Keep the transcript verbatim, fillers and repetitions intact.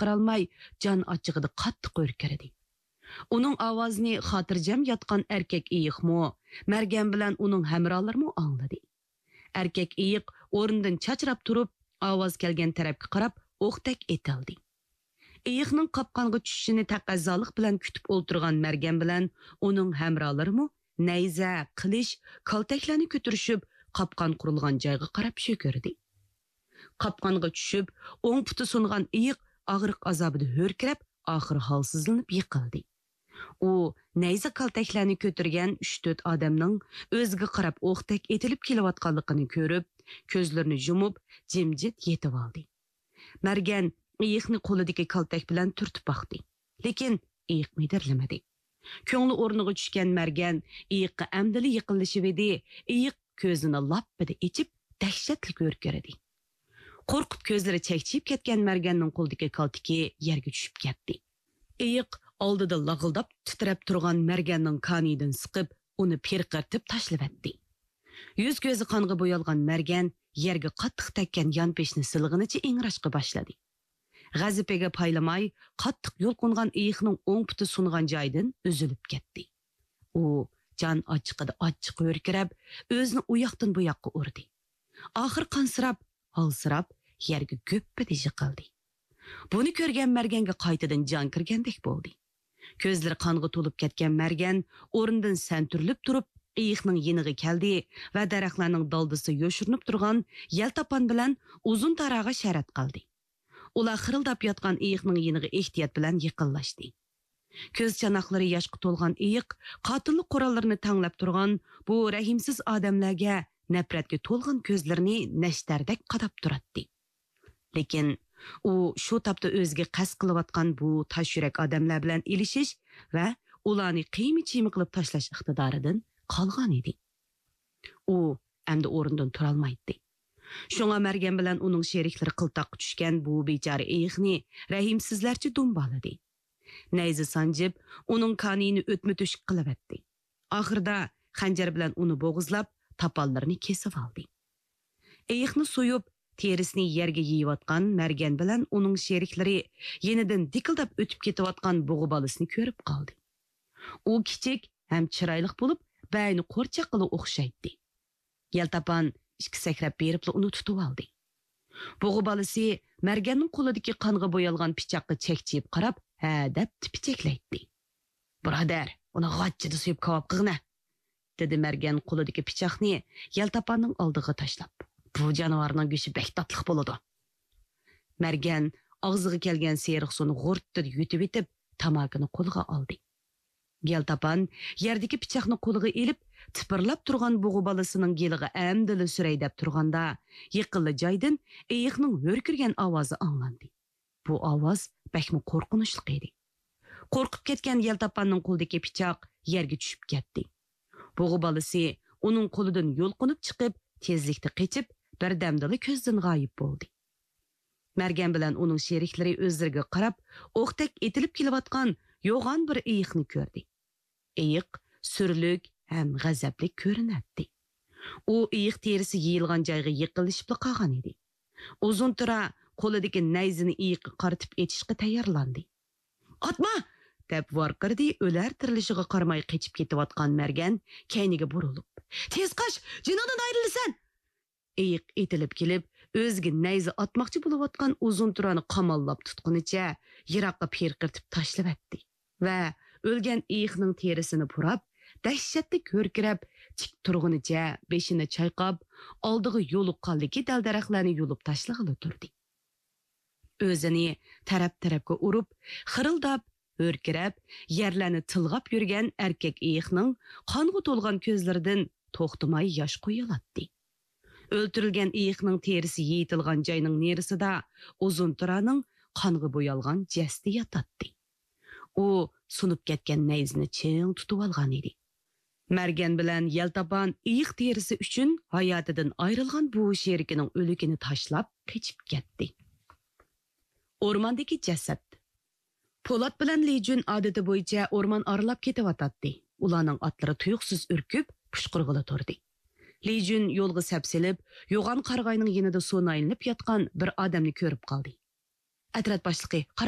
قىرالماي، جان ئاچچىقىدا قاتتىق ھۆركىرىدى. ئۇنىڭ ئاۋازىنى خاتىرجەم ياتقان ئەركەك ئېيىقمۇ، مەرگەن بىلەن ئۇنىڭ ھەمراھلىرىمۇ ئاڭلىدى. ئەركەك ئېيىق ئورنىدىن چاچراپ تۇرۇپ، ئاۋاز كەلگەن تەرەپكە قاراپ ئوقتەك ئېتىلدى. ئېيىقنىڭ قاپقانغا چۈشۈشىنى تەقەززالىق بىلەن كۈتۈپ ئولتۇرغان مەرگەن بىلەن ئۇنىڭ ھەمراھلىرىمۇ نەيزە، قىلىچ، كالتەكلەرنى كۆتۈرۈشۈپ، قاپقان قۇرۇلغان جايغا قاراپ شۆكۈردى. قاپقانغا چۈشۈپ، ئوڭ پۇتى سۇنغان ئېيىق ئاغرىق ئازابىدا ھۆركىرەپ، ئاخىرى ھالسىزلىنىپ يىقىلدى. ئۇ نەيزە كالتەكلەرنى كۆتۈرگەن ئۈچ-تۆت ئادەمنىڭ ئۆزىگە قاراپ ئوقتەك ئېتىلىپ كېلىۋاتقانلىقىنى كۆرۈپ، كۆزلىرىنى يۇمۇپ، جىمجىت يېتىۋالدى. مەرگەن ئېيىقنى قولىدىكى كالتەك بىلەن تۈرتۈپ باقتى. لېكىن ئېيىق مىدىرلىمىدى. كۆڭلى ئورنىغا چۈشكەن مەرگەن ئېيىققا ئەمدىلا يېقىنلىشىۋىدى، ئېيىق كۆزىنى لاپپىدە ئېچىپ، دەھشەتلىك ھۆركىرىدى. قورقۇپ كۆزلىرى چەكچىيىپ كەتكەن مەرگەننىڭ قولىدىكى كالتىكى يەرگە چۈشۈپ كەتتى. ئېيىق ئالدىدا لاغىلداپ تىترەپ تۇرغان مەرگەننىڭ كانىيىدىن سىقىپ، ئۇنى پىرقىرىتىپ تاشلىۋەتتى. يۈز-كۆزى قانغا بويالغان مەرگەن يەرگە قاتتىق تەگكەن يانپېشىنى سىلىغىنىچە ئىڭراشقا باشلىدى. غەزىپىگە پايلىماي، قاتتىق يۇلقۇنغان ئېيىقنىڭ ئوڭ پۇتى سۇنغان جايىدىن ئۈزۈلۈپ كەتتى. ئۇ جان ئاچچىقىدا ئاچچىق ھۆركىرەپ، ئۆزىنى ئۇ ياقتىن بۇ ياققا ئۇردى. ئاخىرى قانسىراپ، ھالسىراپ، يەرگە گۈپپىدە يىقىلدى. بۇنى كۆرگەن مەرگەنگە قايتىدىن جان كىرگەندەك بولدى. كۆزلىرى قانغا تولۇپ كەتكەن مەرگەن ئورنىدىن سەنتۈرۈلۈپ تۇرۇپ، ئېيىقنىڭ يېنىغا كەلدى ۋە دەرەخلەرنىڭ دالدىسى يوشۇرۇنۇپ تۇرغان يەلتاپان بىلەن ئۇزۇن تاراغا شەرەت قىلدى. ئۇلار خىرىلداپ ياتقان ئېيىقنىڭ يېنىغا ئېھتىيات بىلەن يېقىنلاشتى. كۆز چاناقلىرى ياشقا تولغان ئېيىق قاتىللىق قوراللىرىنى تەڭلەپ تۇرغان بۇ رەھىمسىز ئادەملەرگە نەپرەتكە تولغان كۆزلىرىنى نەشتەردەك قاداپ تۇراتتى. لېكىن ئۇ شۇ تاپتا ئۆزىگە قەست قىلىۋاتقان بۇ تاش يۈرەك ئادەملەر بىلەن ئېلىشىش ۋە ئۇلارنى قىيما-چىيما قىلىپ تاشلاش ئىقتىدارىدىن قالغان ئىدى. ئۇ ئەمدى ئورنىدىن تۇرالمايتتى. شۇڭا مەرگەن بىلەن ئۇنىڭ شېرىكلىرى قىلتاققا چۈشكەن بۇ بىچارە ئېيىقنى رەھىمسىزلەرچە دۇمبالىدى. نەيزە سانجىپ، ئۇنىڭ كانىيىنى ئۆتمە-تۆشۈك قىلىۋەتتى. ئاخىرىدا خەنجەر بىلەن ئۇنى بوغۇزلاپ، تاپانلىرىنى كېسىۋالدى. ئېيىقنى سويۇپ، تېرىسىنى يەرگە يېيىۋاتقان مەرگەن بىلەن ئۇنىڭ شېرىكلىرى يېنىدىن دىكىلداپ ئۆتۈپ كېتىۋاتقان بۇغا بالىسىنى كۆرۈپ قالدى. ئۇ كىچىك ھەم چىرايلىق بولۇپ، بەينى قورچاققىلا ئوخشايتتى. يەلتاپان ئىككى سەكرەپ بېرىپلا ئۇنى تۇتۇۋالدى. بۇغا بالىسى مەرگەننىڭ قولىدىكى قانغا بويالغان پىچاققا چەكچىيىپ قاراپ، ھە دەپ تىپىچەكلەيتتى. بۇرادەر، ئۇنى غاچچىدا سويۇپ كاۋاپ قىلغىنە، دېدى مەرگەن قولىدىكى پىچاقنى يەلتاپاننىڭ ئالدىغا تاشلاپ. بۇ جانىۋارنىڭ گۆشى بەك تاتلىق بولىدۇ. مەرگەن ئاغزىغا كەلگەن سېرىق سۇنى غۇرتتىدە يۇتۇۋېتىپ، تاماكىنى قولىغا ئالدى. يەلتاپان يەردىكى پىچاقنى قولىغا ئېلىپ، تىپىرلاپ تۇرغان بۇغا بالىسىنىڭ گېلىغا ئەمدىلا سۈرەي دەپ تۇرغاندا، يېقىنلا جايدىن ئېيىقنىڭ ھۆركىرىگەن ئاۋازى ئاڭلاندى. بۇ ئاۋاز بەكمۇ قورقۇنچلۇق ئىدى. قورقۇپ كەتكەن يەلتاپاننىڭ قولىدىكى پىچاق يەرگە چۈشۈپ كەتتى. بۇغا بالىسى ئۇنىڭ قولىدىن يۇلقۇنۇپ چىقىپ، تېزلىكتە قېچىپ، بىردەمدىلا كۆزدىن غايىب بولدى. مەرگەن بىلەن ئۇنىڭ شېرىكلىرى ئۆزلىرىگە قاراپ، ئوقتەك ئېتىلىپ كېلىۋاتقان يوغان بىر ئېيىقنى كۆردى. ئېيىق سۈرلۈك ھەم غەزەپلىك كۆرۈنەتتى. ئۇ ئېيىق تېرىسى يېيىلغان جايغا يېقىنلىشىپلا قالغان ئىدى. ئۇزۇن تۇرا قولىدىكى نەيزىنى ئېيىققا قارىتىپ ئېتىشقا تەييارلاندى. «ئاتما!» دەپ ۋارقىرىدى، ئۆلەر تىرىلىشىغا قارىماي قېچىپ كېتىۋاتقان مەرگەن كەينىگە بۇرۇلۇپ، «تېز قاچ! جېنىڭدىن ئايرىلىسەن!» ئېيىق ئېتىلىپ كېلىپ، ئۆزىگە نەيزە ئاتماقچى بولۇۋاتقان ئۇزۇن تۇرانى قاماللاپ تۇتقىنىچە يىراققا پىرقىرىتىپ تاشلىۋەتتى ۋە ئۆلگەن ئېيىقنىڭ تېرىسىنى پۇراپ، دەھشەتلىك ھۆركىرەپ، تىك تۇرغىنىچە بېشىنى چايقاپ، ئالدىغا يولۇققانلىكى دەل-دەرەخلەرنى يۇلۇپ تاشلىغىلى تۇردى. ئۆزىنى تەرەپ-تەرەپكە ئۇرۇپ، خىرىلداپ، ھۆركىرەپ، يەرلەرنى تىلغاپ يۈرگەن ئەركەك ئېيىقنىڭ قانغا تولغان كۆزلىرىدىن توختىماي ياش قۇيۇلاتتى. ئۆلتۈرۈلگەن ئېيىقنىڭ تېرىسى يېيىتىلغان جاينىڭ نېرىسىدا ئۇزۇن تۇرانىڭ قانغا بويالغان جەسىتى ياتاتتى. ئۇ سۇنۇپ كەتكەن نەيزىنى چىڭ تۇتۇۋالغان ئىدى. مەرگەن بىلەن يەلتاپان ئېيىق تېرىسى ئۈچۈن ھاياتىدىن ئايرىلغان بۇ شېرىكىنىڭ ئۆلۈكىنى تاشلاپ قېچىپ كەتتى. ئورماندىكى جەسەت. پولات بىلەن لى جۈن ئادىتى بويىچە ئورمان ئارىلاپ كېتىۋاتاتتى. ئۇلارنىڭ ئاتلىرى تۇيۇقسىز ئۈركۈپ، پۇشقۇرغىلى تۇردى. لى جۈن يولغا سەپسېلىپ، يوغان قارىغاينىڭ يېنىدا سۇنايلىنىپ ياتقان بىر ئادەمنى كۆرۈپ قالدى. ئەترەت باشلىقى، قاراڭ!